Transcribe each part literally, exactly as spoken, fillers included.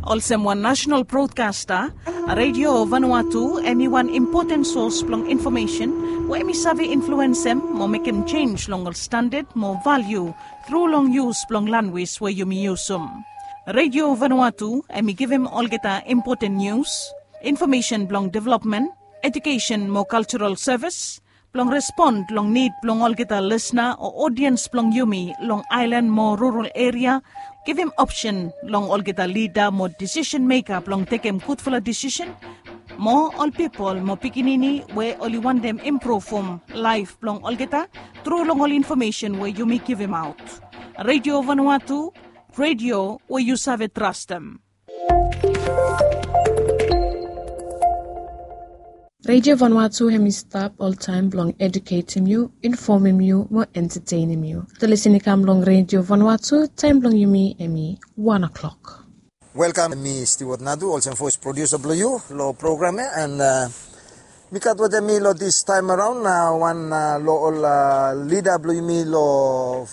Olsem wan nasenal brodkasta, Redio Vanuatu hem i wan impoten sos blong infomesen we hem i save influensem mo mekem jenj long ol standad mo valiu tru long yus blong lanwis we yumi yusum. Redio Vanuatu hem i givim olgeta impoten nius, infomesen blong developmen, ejukesen mo kaljaral sevis, blong respon long nid blong olgeta lisna o odiens blong yumi long aelan mo rural eria, givim opsen long olgeta lida mo disisen meka blong tekem gudfala disisen, mo ol pipol mo pikinini we oli wantem impruvum laef blong olgeta tru long ol infomesen we yumi givimaot. Redio Vanuatu, redio we yu save trastem. Redio Vanuatu hem i stap oltaem blong eduketem yu, infomem yu mo entatenem yu. Yu save lisin i kam long Redio Vanuatu, taem blong yumi hem i wan o'klok. Welkam, mi Stewart Nadu, olsem voes produsa blong yu long program ya, and mi gat wetem mi long distaem araon wan long ol lida blong yumi long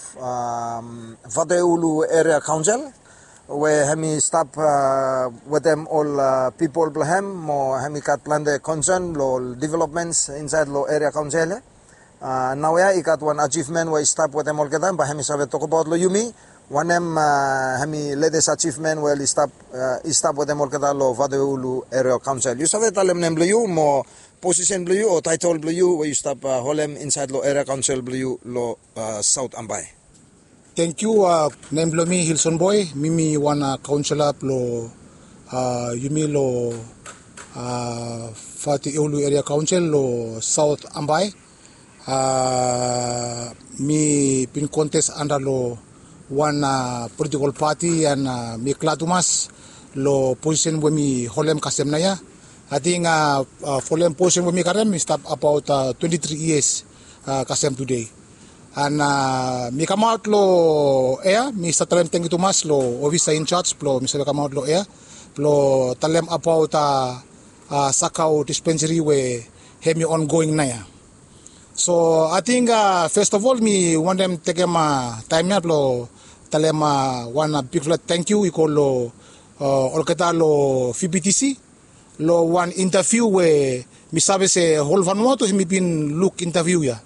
Vatuheulu Eria Kaonsel, we hem i stap wetem ol pipol blong hem, mo hem i gat plante konsen long ol developmens insaed long eria kaonsel ya. Naoia i gat wan ajivmen we i stap wetem olgeta, bae hem i save tokbaot long yumi wanem hem i letes ajivmen we oli stap i stap wetem olgeta long Vatuheulu Eria Kaonsel. Yu save talem nem blong yu mo posisen blong yu o taetol blong yu we yu stap holem insaed long eria kaonsel blong yu long Saot Ambae. Tangkiu. Nem blong mi Hilson Boe, mi mi wan kaonsela blong yumi long Vatuheulu Eria Kaonsel long Saot Ambae. Mi bin kontes anda long wan politikol pati, and mi glad tumas long posisen we mi holem kasem naoia. Ating folem posisen we mi karem i stap abaot twenti tri yias kasem tude. And mi kamaot long ea, mi save talem tangkiu tumas long ofisa injaj blong mi save kamaot long ea blong talem abaot Sakau dispensari we hem i ongoing naoia. So ating fes of ol mi wantem tekem taem ya blong talem wan bigfala tangkiu i go long olgeta long VBTC long wan intaviu we mi save se hol Vanuatu hem i bin luk intaviu ya.